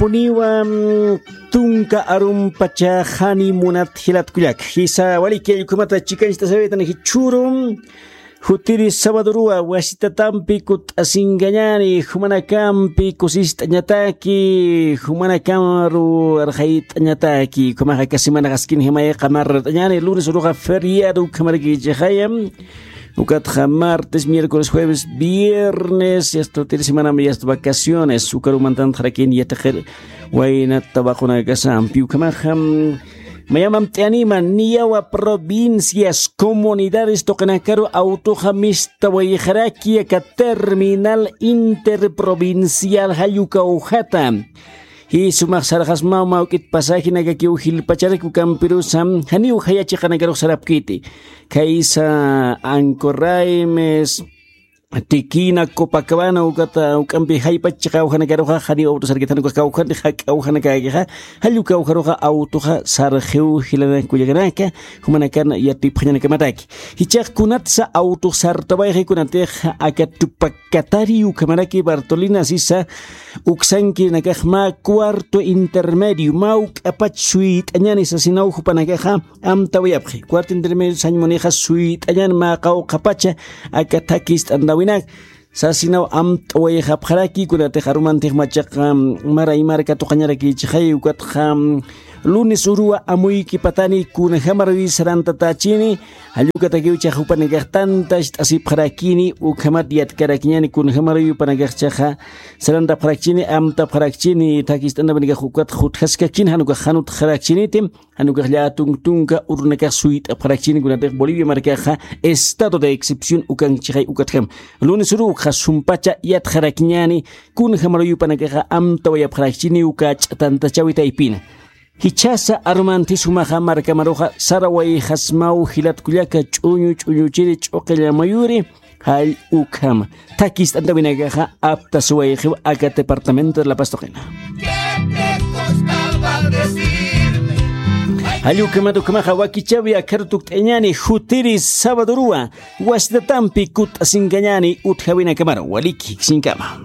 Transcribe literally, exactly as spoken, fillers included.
Puniwa, mm, tunka arumpacha jani munat jilat kullak. Jisa waliki allkumat chikancht'asawaytan jichhuru. Jutiri sabaduruwa wasitatampi kut'asinkañani, jumanakampi kusist'añataki, jumanakamaru arxayt'añataki, jumaxa aka semana jaskin jimayqa marrat'añani, lunes uruxa feriado ukhamaraki chixaya. Ukatxa martes, miércoles, jueves, viernes, yasta utiri semanam yasta vacaciones, ukarumantan jarakin yatiqir waynata waqunakasampi ukhamaxa. Mayamam t'anima niyawa provincias, comunidades tuqinakaru autoxa mistawayxaraki aka terminal interprovincial jallukawjata. Jisumax sarxasmaw mawk'it pasajinakakiw jilpacharaki ukampirusa, janiw jaya chiqanakarux sarapkiti. Khaysa Ancorraimes, Tiquina, Copacabana, ukata, uk'ampi jaypach chiqa awjanakaruxa, janiw autosarkit janukax kawjanti, jak'a awjanakakixa, jalluka awjaruxa, autoxa sarxiw jilanak kullakanaka, jumanakan yatipxañanakamataki. Jichax kunatsa autox sartawayxi kunatix, aka Tupac Katari ukhamaraki Bartolina sisa, uksankirinakax mä cuarto intermedio, mä uk'apach suyt'añani sasinaw jupanakaxa, amtawayapxi. Cuarto intermedio sañ munixa suyt'añan mä qawqhapacha aka thakist'antawinak. Sasinaw amtawayxapxaraki kunatix arumantix machaqa, mm, maray marka tuqañaraki chixay ukatxa, mm, lunes uruwa amuykipatani kunjamaruy sarantatachini, jallukatakiw chax jupanakax tantacht'asipxarakini, ukhamat yatkarakiñani kunjamaruy jupanakax chaxa sarantapxarakchini, amtapxarakchini, thakist'antawinakax ukat jutjaskakchini, janukax janutxarakchiniti. Janukax llätunk tunka urunakax suyt'apxarakchini kunatix Bolivia markaxa estado de excepción ukan chixay ukatjam. Lunes uru ukxa sumpacha yatxarakiñani, kunjamaruy jupanakaxa amtawayapxarakchini uka ch'atantachäwi taypina. Jichhasa arumantis jumaxa markamaruxa sarawayxasmaw jilat kullaka ch'uñu ch'uñuchiri ch'uqilla muyuri, jall ukham. Thakist'antawinakaxa aptasuwayxiw aka departamento de La Paz tuqina. Jall ukhamat ukhamaxa wakichawi akharu tukt'añani jutiri sabaduruwa wasitatampi kut'asinkañani utjawinakamaru waliki jiksinkama.